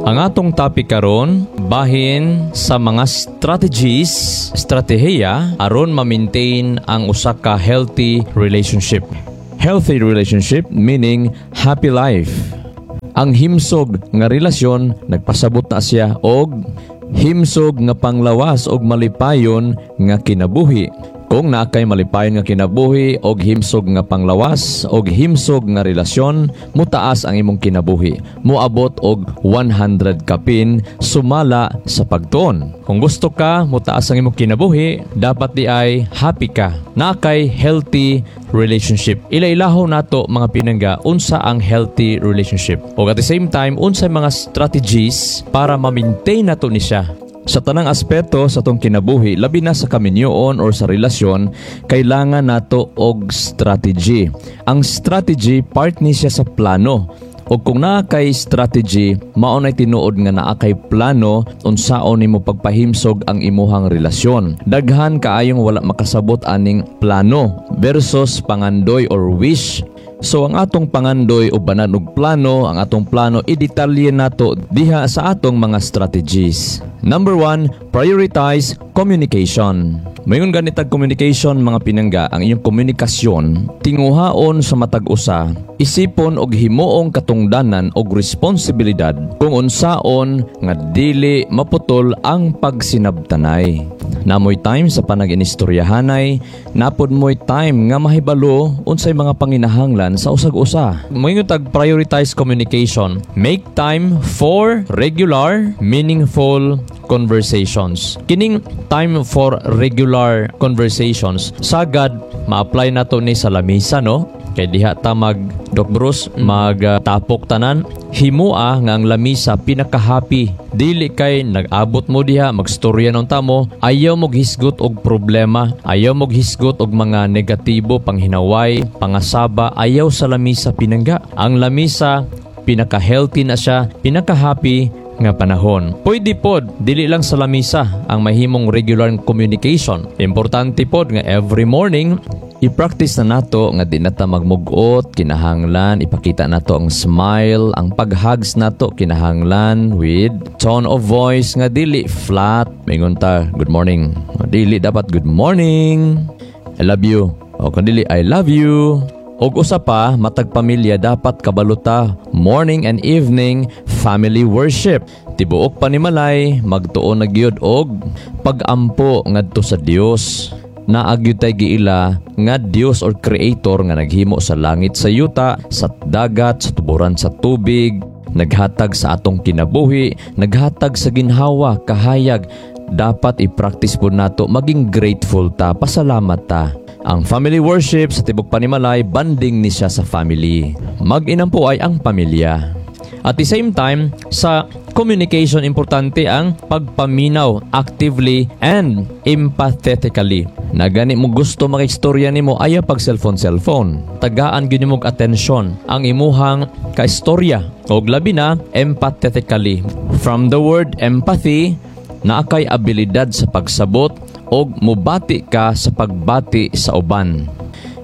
Ang atong topic karon bahin sa mga strategies, estratehiya aron ma-maintain ang usa ka healthy relationship. Healthy relationship meaning happy life. Ang himsog nga relasyon nagpasabot na siya og himsog nga panglawas og malipayon nga kinabuhi. Kung naa kay malipayon nga kinabuhi og himsog nga panglawas og himsog nga relasyon, mutaas ang imong kinabuhi. Moabot og 100 kapin sumala sa pagtuon. Kung gusto ka mutaas ang imong kinabuhi, dapat diay happy ka. Naa kay healthy relationship. Ila-ilaho nato, mga pinangga, unsa ang healthy relationship. O at the same time, unsa mga strategies para ma-maintain nato ni siya. Sa tanang aspeto sa atong kinabuhi, labi na sa kaminyoon or sa relasyon, kailangan nato og strategy. Ang strategy, part ni siya sa plano. O kung naa kay strategy, mao nay tinuod nga naa kay plano unsaon nimo pagpahimsog ang imuhang relasyon. Daghan kaayong wala makasabot aning plano versus pangandoy or wish. So ang atong pangandoy ubanan og plano, ang atong plano i-detalye nato diha sa atong mga strategies. Number one, prioritize communication. Mayon ganitag communication, mga pinangga, ang inyong komunikasyon, tinguhaon sa matag usa, isipon og himuong katungdanan og responsibilidad kung unsaon nga dili maputol ang pagsinabtanay. Naa moy time sa panag-inistoryahanay, naa pod mo'y time nga mahibalo unsay mga panginahanglan sa usag-usa. Moingon tag prioritize communication. Make time for regular, meaningful conversations. Kining time for regular conversations, sagad ma-apply nato ni sa lamisa, no? Kay diha ta mag, Doc Bruce, magtapok tanan, himua nga ang lamisa pinaka-happy. Dili kay nag-abot mo diha, magstorya nung tamo, ayaw mo hisgot og problema, ayaw mo hisgot og mga negatibo, panghinaway, pangasaba, ayaw sa lamisa, pinangga. Ang lamisa pinaka-healthy na siya, pinaka-happy nga panahon. Pwede pod, dili lang sa lamisa ang mahimong regular communication. Importante pod nga every morning, i-practice na nato nga di na ta magmugot, kinahanglan ipakita nato ang smile, ang pag-hugs nato kinahanglan with tone of voice nga dili flat. Mingon ta, "Good morning." Dili, dapat, "Good morning. I love you." O kung dili, "I love you." Og usa pa, matag pamilya dapat kabaluta morning and evening family worship. Tibuok panimalay magtuon na gyud og pagampo ngadto sa Dios. Naa gyud tay giila nga Dios or Creator nga naghimo sa langit, sa yuta, sa dagat, sa tuburan sa tubig, naghatag sa atong kinabuhi, naghatag sa ginhawa, kahayag. Dapat i-practice po nato maging grateful ta, pasalamat ta. Ang family worship sa tibok panimalay, bonding ni siya sa family. Mag-inampo ay ang pamilya. At the same time, sa communication, importante ang pagpaminaw actively and empathetically. Na gani mo gusto makaistorya nimo, ayaw pag cellphone cellphone. Tagaan gyud nimo og atensyon ang imuhang kaistorya og labi na empathetically. From the word empathy, naa kay abilidad sa pagsabot og mubati ka sa pagbati sa uban.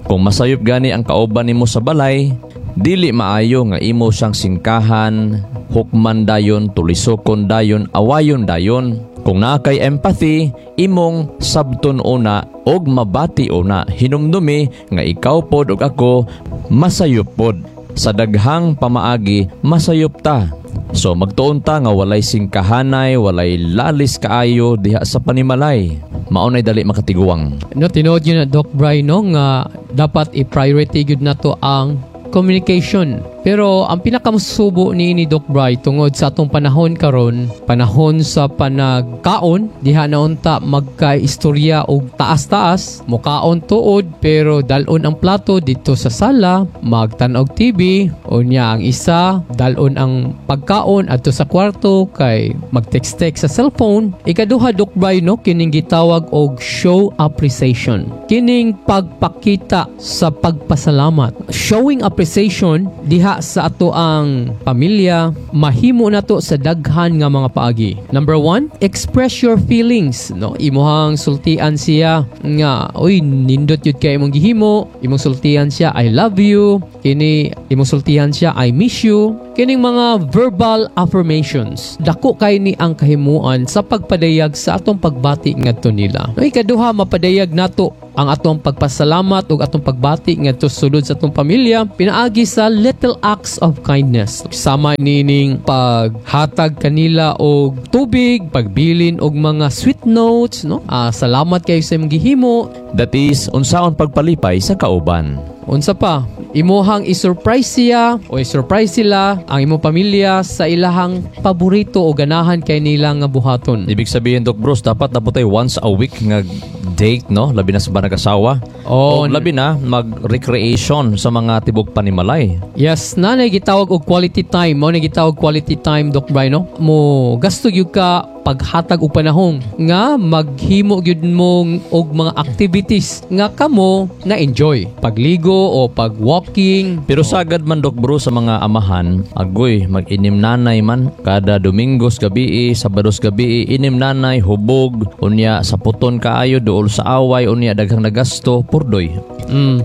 Kung masayop gani ang kauban nimo sa balay, dili maayo nga imo siyang singkahan, hukman dayon, tulisokon dayon, awayon dayon. Kung naa kay empathy, imong sabton una og mabati una. Hinumdumi nga ikaw pod ug ako masayop pod. Sa daghang pamaagi masayop ta. So magtuon ta nga walay singkahanay, walay lalis kaayo diha sa panimalay. Mao nay dali makatiguang. No, tinuod yun na, Doc Bry, no, nga dapat i-priority gyud nato ang communication. Pero ang pinakamasubo ni Doc Bry, tungod sa atong panahon karon, panahon sa panagkaon, diha na unta magka-istorya og taas-taas, mukaon tuod pero dalon ang plato dito sa sala, magtan-og TV, unya ang isa dalon ang pagkaon adto sa kwarto kay mag-text-text sa cellphone. Ikaduha, Doc Bry, no, kining gitawag og show appreciation. Kining pagpakita sa pagpasalamat. Showing appreciation diha diha sa atoang pamilya, mahimo nato sa daghan nga mga paagi. Number one, express your feelings. No, imuhang sultian siya nga, "Uy, nindot yun kay imong gihimo." Imong sultian siya, "I love you." Kini imong sultian siya, "I miss you." Kining mga verbal affirmations. Dako kay ni ang kahimuan sa pagpadayag sa atong pagbati ngadto nila. No, ikaduha, mapadayag nato ang atong pagpasalamat ug atong pagbati ngadto sulod sa atong pamilya pinaagi sa little acts of kindness. Sama nining paghatag kanila og tubig, pagbilin og mga sweet notes, no? Ah, salamat kayo sa imong gihimo. That is, unsaon pagpalipay sa kauban. Unsa pa? Imuhang i-surprise siya o i-surprise sila ang imong pamilya sa ilahang paborito o ganahan kay nila nga buhaton. Ibig sabihin, Doc Bruce, dapat na po tayo once a week nga date, no? Labi na sa nag-asawa. Oh, O labi na mag-recreation sa mga tibok panimalay. Yes, nanay gitawag og quality time. Mao na gitawag quality time, Doc Bry, no? Mo gasto gyud ka paghatag og panahon nga maghimo gyud mo og mga activities nga kamo na enjoy. Pagligo o pag-walking. Pero sagad man, Doc Bruce, sa mga amahan, agoy, mag-inim nanay man kada Domingos gabi, Sabados gabi, inim nanay hubog, unya sa puton kaayo, duol sa away, unya daghang nagasto, purdoy.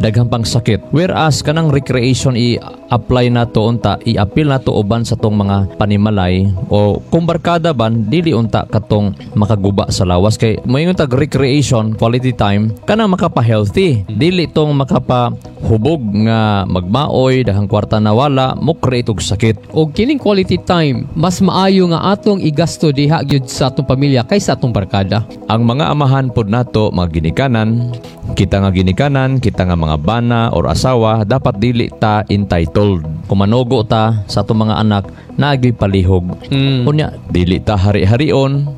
Daghang pang sakit. Whereas kanang recreation i-apply nato unta, i-appeal nato uban sa tong mga panimalay o kung barkada ban, dili unta katong makaguba sa lawas, kay moingon tag recreation, quality time, kanang makapa-healthy, dili tong makapahubog nga magmaoy, daghang kwarta na wala mo create og sakit. Og kining quality time, mas maayo nga atong igasto diha gyud sa atong pamilya kaysa atong barkada. Ang mga amahan pod nato, mga ginikanan, kita nga ginikanan, kita nga mga bana or asawa, dapat dili ta entitled. Kung manugo ta sa atong mga anak, naagyoy palihog. Unya, dili ta hari-harion,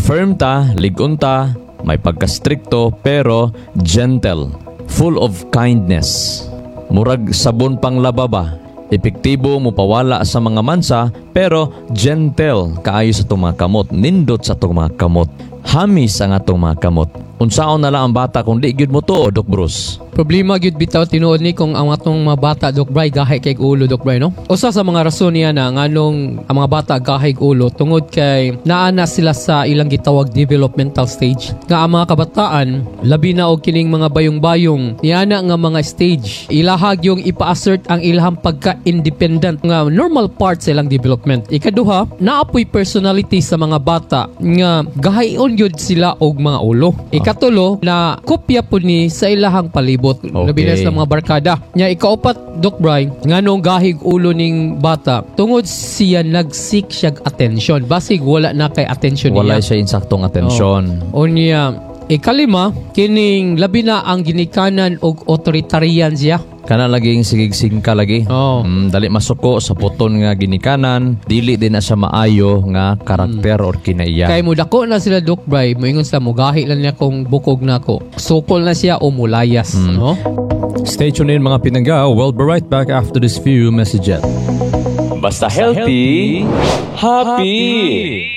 firm ta, ligon ta, may pagka-stricto pero gentle, full of kindness. Murag sabon pang lababa, epektibo mo pawala sa mga mansa pero gentle kaayo sa atong mga kamot, nindot sa atong mga kamot. Hamis ang atong mga kamot. Unsaon na lang ang bata kung di gyud mo to, Doc Bruce? Problema gyud bitaw tinuod ni kung ang atong mga bata, Doc Bry, gahi kay ulo, Doc Bry, no? Usa sa mga rason niya na nganong ang mga bata gahi ulo tungod kay naa na sila sa ilang gitawag developmental stage. Nga ang mga kabataan, labi na og kining mga bayong-bayong niana nga mga stage, ilahag yung ipa-assert ang ilahang pagka-independent nga normal part sa ilang development. Ikaduha, naapoy personality sa mga bata nga gahion gyud sila og mga ulo. Ikatulo, na kopya po ni sa ilahang palibot. Labi na sa mga barkada. Nya ikaupat, Doc Bry, nganong gahig ulo ning bata, tungod siya nag-seek siya attention. Basig wala na kay attention Wala niya. Siya insaktong atensyon. Unya, ikalima, kining labi na ang ginikanan og authoritarian siya. Kana laging sigig-singka lagi. Oh. Dali masuko sa puton nga ginikanan, dili din na siya maayo nga karakter or kinaiya. Kay mo dako na sila, Doc Bry, moingon sila, "Mugahi lang niya kung bukog na ako." Sukol na siya o mulayas, no? Stay tuned in, mga pinangga. We'll be right back after this few messages. Basta healthy, happy.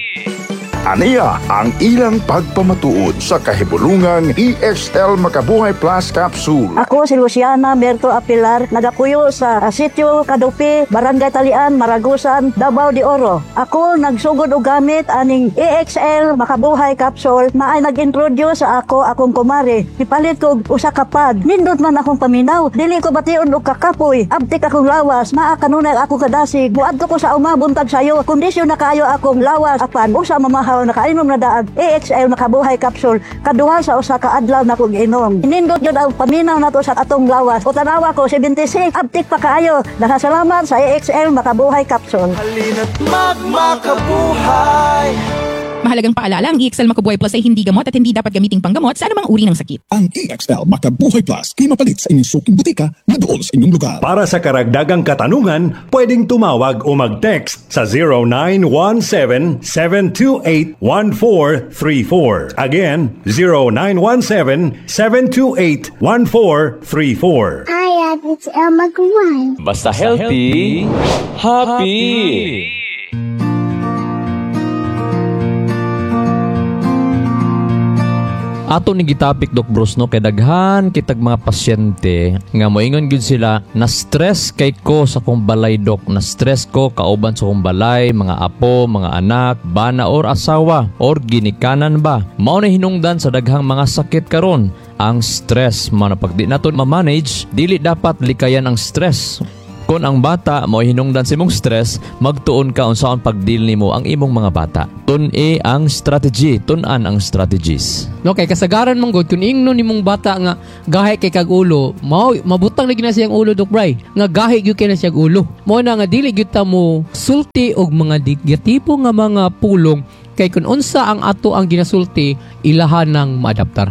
Aniya ang ilang pagpamatuod sa kahibulungang EXL Makabuhay Plus Capsule. Ako si Luciana Merto Apilar, nagapuyo sa Sitio Kadupi, Barangay Talian, Maragusan, Davao de Oro. Ako nagsugod og gamit aning EXL Makabuhay Capsule na ay nag-introduce sa ako akong kumare. Ipalit ko og usa ka pad. Nindot man akong paminaw. Dili ko bation og kakapoy. Abtik akong lawas. Naa kanunay ako kadasig. Muadto ko sa uma buntag sayo. Kondisyon na kaayo akong lawas apan usa mamahaw, nakainom na daan EXL Makabuhay Capsule. Kaduha sa usa ka adlaw na kong inom. Nindot yun ang paminaw nato sa atong lawas. O tanawa ko 76, abtik pa kaayo. Nakasalamat sa EXL Makabuhay Capsule. Halina't magmakabuhay. Mahalagang paalala, ang EXL Makabuhay Plus ay hindi gamot at hindi dapat gamiting panggamot sa anumang uri ng sakit. Ang EXL Makabuhay Plus kay mapalit sa inyong suking butika na dool sa inyong lugar. Para sa karagdagang katanungan, pwedeng tumawag o mag-text sa 0917-728-1434. Again, 0917-728-1434. Hi, it's Elma Guan. Basta healthy, happy. Ato ni gitapik, Doc Bruce, no, kay daghan kitag mga pasyente nga moingon gyud sila na stress kay ko sa akong balay, doc, na stress ko kauban sa akong balay, mga apo, mga anak, bana or asawa or ginikanan ba. Mao na hinungdan sa daghang mga sakit karon, ang stress. Mao na pag di nato ma-manage, dili dapat likayan ang stress. Kung ang bata mo hinungdan sa imong stress, magtuon ka unsaon pag-deal nimo ang imong mga bata. Tun-i ang strategy, tun-an ang strategies. No, kay kasagaran man gud kung ingnon nimong bata nga gahi kay kag ulo, mao mabutang lagi na siyang ulo, Doc Bry. Nga gahi gyud kay na siyang ulo. Mao na nga dili gyud ta mo sulti og mga negatibo nga mga pulong kay kung unsa ang ato ang ginasulti, ilahan nang maadaptar.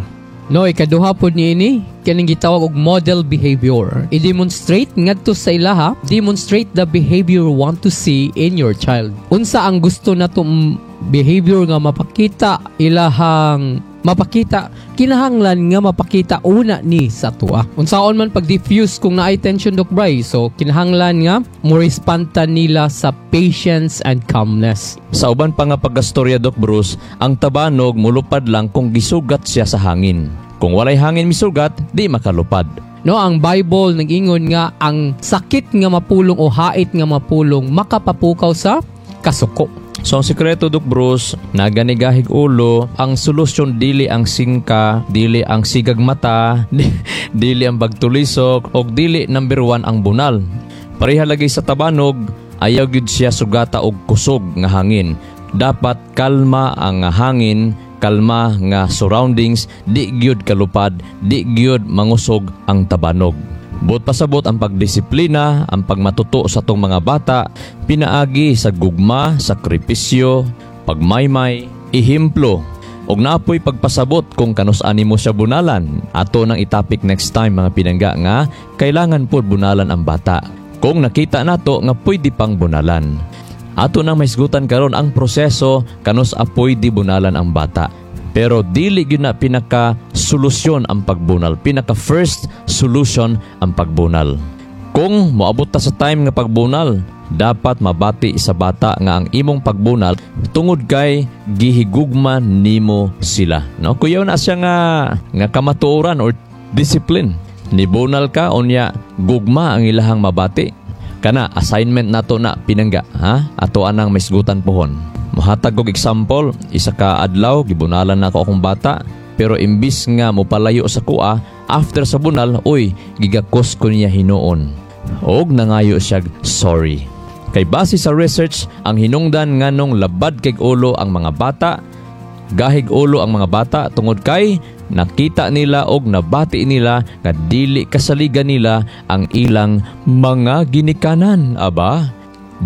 No, ikaduha pod niini kaning gitawag og model behavior. I-demonstrate ngadto sa ilaha, demonstrate the behavior you want to see in your child. Unsa ang gusto nato behavior nga mapakita ilahang mapakita, kinahanglan nga mapakita una ni sa tuwa. Unsaon man pag-diffuse kung naay tension, Doc Bry? So kinahanglan nga mo respond ta nila sa patience and calmness. Sa uban pa nga pagkastorya, Doc Bruce, ang tabanog mulupad lang kung gisugat siya sa hangin. Kung walay hangin misugat, di makalupad. No, ang Bible nag-ingon nga ang sakit nga mapulong o hait nga mapulong makapapukaw sa kasuko. So ang sikreto, Doc Bruce, naganigahig ulo, ang solusyon dili ang singka, dili ang sigag mata, dili ang bagtulisok, og dili number one ang bunal. Pareha lagi sa tabanog, ayaw gyud siya sugata og kusog nga hangin. Dapat kalma ang hangin, kalma nga surroundings, di gyud kalupad, di gyud mangusog ang tabanog. Buot pasabot, ang pagdisiplina, ang pagmatuto sa atong mga bata, pinaagi sa gugma, sakripisyo, pagmaymay, ihimplo, og napoy pagpasabot kung kanus-an nimo siya bunalan. Ato nang itapik next time, mga pinangga, nga kailangan po bunalan ang bata. Kung nakita nato nga pwede pang bunalan. Ato nang mahisgutan karon ang proseso kanus apoy di bunalan ang bata. Pero dili gyud na pinaka solusyon ang pagbunal, pinaka first solution ang pagbunal. Kung moabot ta sa time nga pagbunal, dapat mabati sa bata nga ang imong pagbunal tungod kay gihigugma nimo sila. No, kuyaw na siya nga kamatuoran or discipline. Nibunal ka unya gugma ang ilahang mabati. Kana assignment nato na, pinangga, ha? Ato anang maisgutan pohon. Mohatag og example, isa ka adlaw gibunalan nako akong bata, pero imbis nga mopalayo sa kuha after sa bunal, uy, gigakos ko niya hinuon. Og nangayo siya sorry. Kay base sa research, ang hinungdan nganong labad kay ulo ang mga bata, gahig ulo ang mga bata tungod kay nakita nila og nabati nila nga dili kasaligan nila ang ilang mga ginikanan. Aba,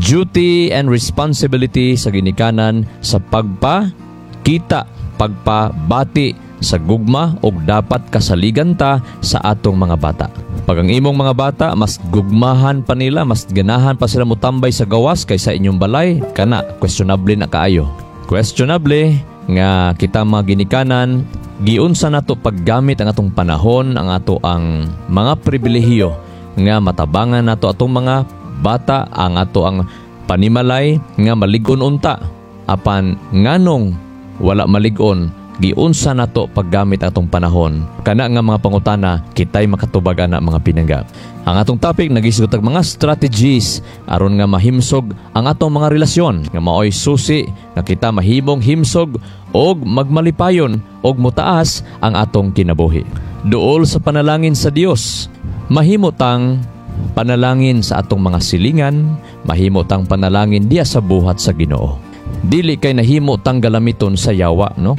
duty and responsibility sa ginikanan sa pagpa kita, pagpabati sa gugma og dapat kasaligan ta sa atong mga bata. Pag ang imong mga bata mas gugmahan pa nila, mas ganahan pa sila mutambay sa gawas kaysa inyong balay, kana questionable na kaayo. Questionable nga kita mga ginikanan giunsa nato paggamit ang atong panahon, ang ato ang mga pribilehiyo nga matabangan nato atong mga bata, ang ato ang panimalay nga malig-on unta. Apan nganong wala malig-on, giunsa nato paggamit atong panahon? Kana nga mga pangutana kitay makatubag ana, mga pinangga. Ang atong topic nagisgot og mga strategies aron nga mahimsog ang atong mga relasyon nga maoy susi nga kita mahimong himsog og magmalipayon og motaas ang atong kinabuhi. Duol sa panalangin sa Dios, mahimo tang panalangin sa atong mga silingan, mahimo tang panalangin diya sa buhat sa Ginoo. Dili kay nahimo tang galamiton sa yawa, no?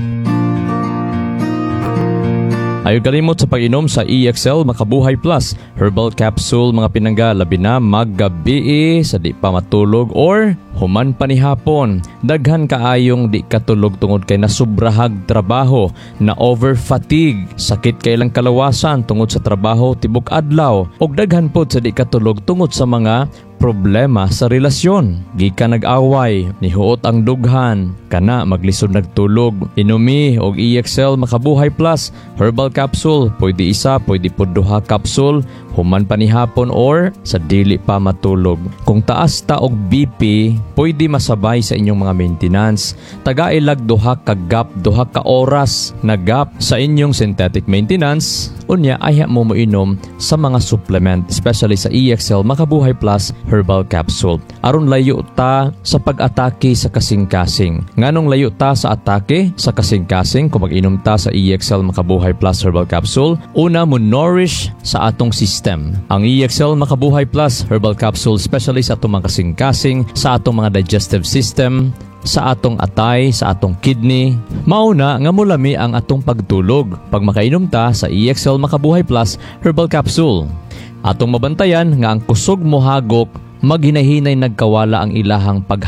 Ayaw kalimot sa pag-inom sa EXL Makabuhay Plus Herbal Capsule, mga pinangga, labi na maggabi sa di pa matulog or human pa ni hapon. Daghan kaayong di katulog tungod kay nasubrahag trabaho, na over fatigue, sakit kay ilang kalawasan tungod sa trabaho tibok adlaw, og daghan pod sa di katulog tungod sa mga problema sa relasyon. Gikan nag-away, nihuot ang dughan, kana maglisod nagtulog. Inumi og EXL Makabuhay Plus Herbal Capsule, pwede isa, pwede pud duha capsule. Human pa ni hapon or sa dili pa matulog. Kung taas ta og BP, pwede masabay sa inyong mga maintenance. Tagai lag duha ka gap, duha ka oras na gap sa inyong synthetic maintenance. Unya, ayha mo moinom sa mga supplement, especially sa EXL Makabuhay Plus Herbal Capsule. Aron layo ta sa pag-atake sa kasing-kasing. Nganong layo ta sa atake sa kasing-kasing kung mag-inom ta sa EXL Makabuhay Plus Herbal Capsule? Una, mo nourish sa atong system. Ang EXL Makabuhay Plus Herbal Capsule, especially sa atong mga kasing-kasing, sa atong mga digestive system, sa atong atay, sa atong kidney. Mauna nga mulami ang atong pagtulog pag makainom ta sa EXL Makabuhay Plus Herbal Capsule. Atong mabantayan nga ang kusog mohagok, maghinahinay nagkawala ang ilahang paghagok.